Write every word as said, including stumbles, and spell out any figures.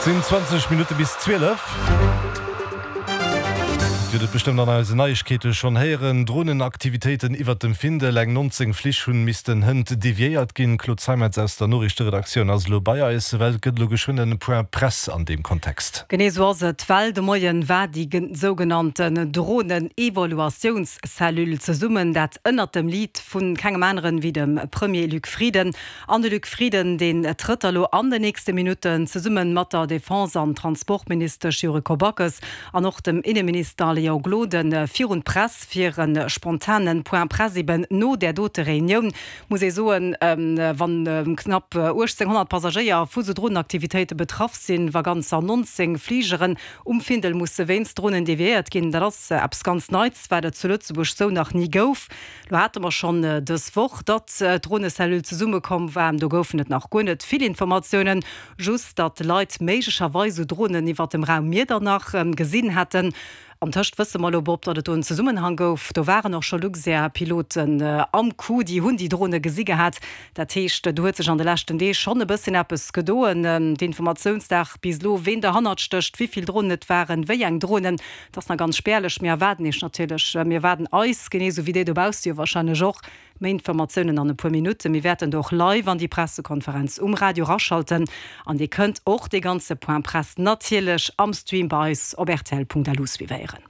Sinn zwanzeg Minutte bis zwielef. Dir hutt et bestëmmt an eisen Neiegkeete schonn héieren, Dronenaktivitéiten iwwert dem Findel, eng nonzéng Flich hunn missten hënt deviéiert ginn. Claude Zeimetz aus der Noriichteredaktioun ass elo bei eis, well et gëtt elo geschwënn en Point Presse an deem Kontext. Genee esou ass et, well de Moien war déi sougenannten Dronen-Evaluatiounscellule zesummen, dat ënnert dem Lead vu kengem aneren wéi dem Premier Luc Frieden. An de Luc Frieden, deen trëtt da lo an den nächste Minutten zesumme mat der Defense an Transportministesch Yuriko Backes an och dem Inneminister Léon Gloden virun d'Press fir e spontane Point presse eben no där dote Reunioun. Muss ee soen, wann knapp uechtzénghonnert Passagéier vu sou Drohnenaktivitéite betraff sinn, wa ganzer nonzéng Fligeren um Findel musse wéinst Drohnen deviéiert ginn, dat ass eppes ganz Neits, wat et zu Lëtzebuerg sou nach ni gouf. Lo hate mer schonn dës Woch, datt d'Drohnecellule zesummekomm war, do goufen et nach guer net vill Informatiounen, just datt Leit méiglecherweis sou Drohnen iwwert dem Raum Miedernach gesinn hätten. Antëscht wësse mer elo, Bob, datt et do en Zesummenhang gouf. Do waren och scho Luxair-Piloten am Coup, déi hunn déi Drone gesi gehat. Dat heescht, do huet sech an de leschten Deeg schonn e bësschen eppes gedoen. D'Informatiounsdag bis elo, ween derhannert stécht, wéi vill Dronen et waren, wéi eng Dronen, dat ass nach ganz spärlech. Mir erwaarden Iech natierlech, mir erwaarden eis, genee esou wéi dir dobausse jo warscheinlech och, Méi Informatiounen an e puer Minutten. Mir wäerten do och live an déi Pressekonferenz um Radio raschalten an Dir kënnt och dee ganze Point Presse natierlech am Stream bei eis op rtl Punkt lu suivéieren.